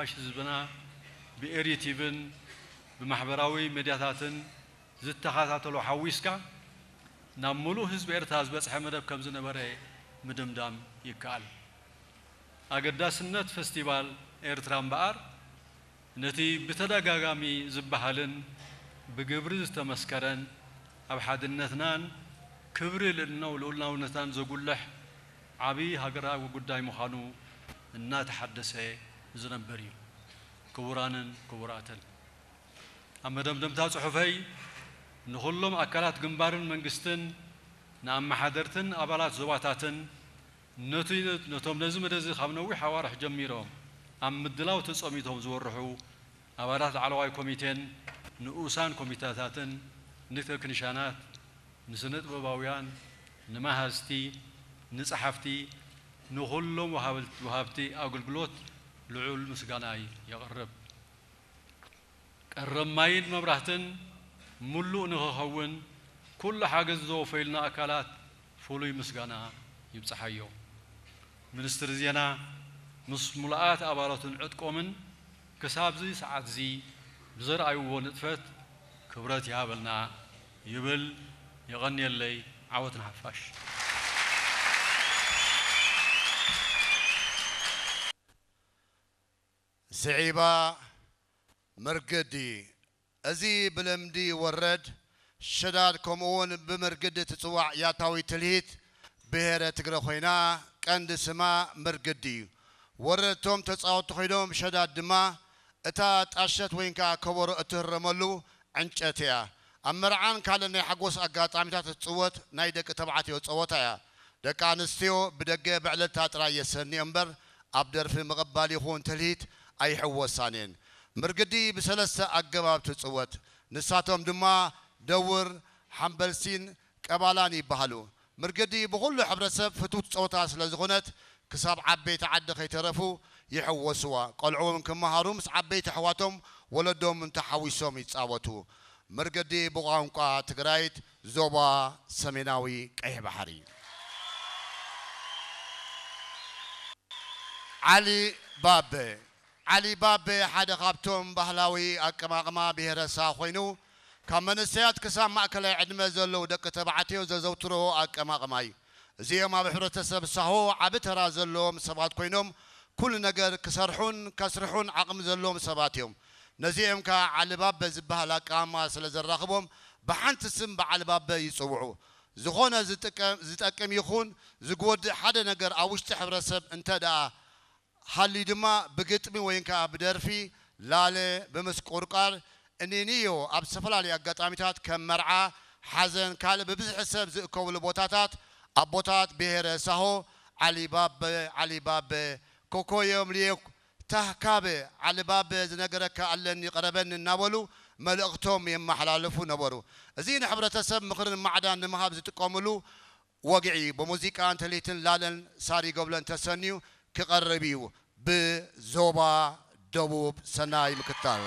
ሓፋሽ ህዝብና ብኤሪ ቲቪን ብማሕበራዊ ሜድያታትን ዝተኸታተሎ ሓዊስካ ናብ ምሉእ ህዝቢ ኤርትራ ዝበጽሐ መደብ ከም ዝነበረ ምድምዳም ይከኣል። ኣገዳስነት ፈስቲቫል ኤርትራ እምበኣር ነቲ ብተደጋጋሚ ዝበሃልን ብግብሪ ዝተመስከረን ኣብ ሓድነትናን ክብሪ ልዕልናው ልኡላውነትናን ዘጉልሕ ዓቢ ሃገራዊ ጉዳይ ምዃኑ እናተሓደሰ ዝነብር እዩ። ክቡራንን ክቡራትን፣ ኣብ መደምደምታ ጽሑፈይ ንኹሎም ኣካላት ግንባርን መንግስትን፣ ንኣመሓደርትን ኣባላት ዞባታትን፣ ነቲ ነቶም ነዚ መደብ እዚ ካብ ነዊሕ ኣዋርሕ ጀሚሮም ኣብ ምድላው ተጸሚቶም ዝወርሑ ኣባላት ላዕለዋይ ኮሚቴን ንኡሳን ኮሚቴታትን፣ ንቴክኒሻናት፣ ንስነ ጥበባውያን፣ ንመሃዝቲ፣ ንጸሓፍቲ፣ ንኹሎም ወሃብል-፣ ወሃብቲ ኣገልግሎት ልዑል ምስጋናይ የቕርብ። ቀረብ ማይን መብራህትን ምሉእ ንኽኸውን ኩሉ ሓገዝ ዘወፈዩልና ኣካላት ፍሉይ ምስጋና ይብጽሓዮ። ሚኒስትሪ ዜና ምስ ምሉኣት ኣባላቱን ዕጥቆምን ክሳብዚ ሰዓትዚ ብዘርኣይዎ ንጥፈት ክብረት ይሃበልና ይብል። የቐንየለይ። ዓወት ንሓፋሽ። ስዒባ፣ ምርግዲ። እዚ ብልምዲ ወረድ፣ ሸዳድ ከምኡውን ብምርግዲ ትጽዋዕ ያታዊት ትልሂት ብሄረ ትግረ ኮይና፣ ቀንዲ ስማ ምርግዲ እዩ። ወረድ እቶም ተጻወትቲ ኮይኖም፣ ሸዳድ ድማ እታ ጣሸት ወይንካ ከበሮ እትህረመሉ ዕንጨት እያ። ኣብ መርዓን ካልእ ናይ ሓጎስ ኣጋጣሚታት እትጽወት ናይ ደቂ ተባዕትዮ ጸወታ እያ። ደቂ ኣንስትዮ ብደገ ብዕልልታ ጥራይ የሰንዮ እምበር፣ ኣብ ደርፊ ምቕባል ይኹን ትልሂት ኣይሕወሳን እየን። ምርግዲ ብሰለስተ ኣገባብ ትጽወት። ንሳቶም ድማ ደውር፣ ሓምበልሲን ቀባላን ይበሃሉ። ምርግዲ ብኹሉ ሕብረተሰብ ፍትውቲ ጸወታ ስለ ዝኾነት፣ ክሳብ ዓበይቲ ዓዲ ከይተረፉ ይሕወስዋ። ቆልዑ እውን ክመሃሩ ምስ ዓበይቲ ኣሕዋቶም ወለዶም እንተሓዊሶም ይጻወቱ። ምርግዲ ብቋንቋ ትግራይት ዞባ ሰሜናዊ ቀይሕ ባሕሪ። ዓሊ ባበ። ዓሊ ባበ ሓደ ካብቶም ባህላዊ ኣቀማቕማ ብሄረ ሳሆ ኮይኑ፣ ካብ መንእሰያት ክሳብ ማእከላይ ዕድመ ዘለዉ ደቂ ተባዕትዮ ዘዘውትርዎ ኣቀማቕማ እዩ። እዚኦም ኣብ ሕብረተሰብ ሳሆ ዓቢ ተራ ዘለዎም ሰባት ኮይኖም፣ ኩሉ ነገር ክሰርሑን ከስርሑን ዓቕሚ ዘለዎም ሰባት እዮም። ነዚኦም ከኣ ዓሊ ባበ ዝበሃል ኣቀማቕማ ስለ ዘራኽቦም፣ ብሓንቲ ስም ብዓሊ ባበ ይጽውዑ። ዝኾነ ዝጥቀም፣ ዝጠቅም ይኹን ዝጎድእ ሓደ ነገር ኣብ ውሽጢ ሕብረተሰብ እንተ ደኣ ሃልዩ ድማ ብግጥሚ ወይን ከኣ ብደርፊ፣ ላለ፣ ብምስቁርቃር፣ እኒንዮ ኣብ ዝተፈላለዩ ኣጋጣሚታት ከም መርዓ፣ ሓዘን፣ ካልእ ብብዝሒ ሰብ ዝእከብሉ ቦታታት ኣቦታት ብሄረ ሳሆ ዓሊ ባበ፣ ዓሊ ባበ፣ ኮኮዮም ልየኩ፣ ታህካበ፣ ዓሊ ባበ ዝነገረካ ኣለኒ ቅረበኒ እናበሉ መልእኽቶም የመሓላልፉ ነበሩ። እዚ ንሕብረተሰብ ምኽርን ማዕዳን ንምሃብ ዝጥቀምሉ ወግዒ ብሙዚቃን ትልሂትን ላለን ሳሪ ገብለን ተሰንዩ ክቐርብ እዩ። ብዞባ ደቡብ ሰናይ ምክትታል።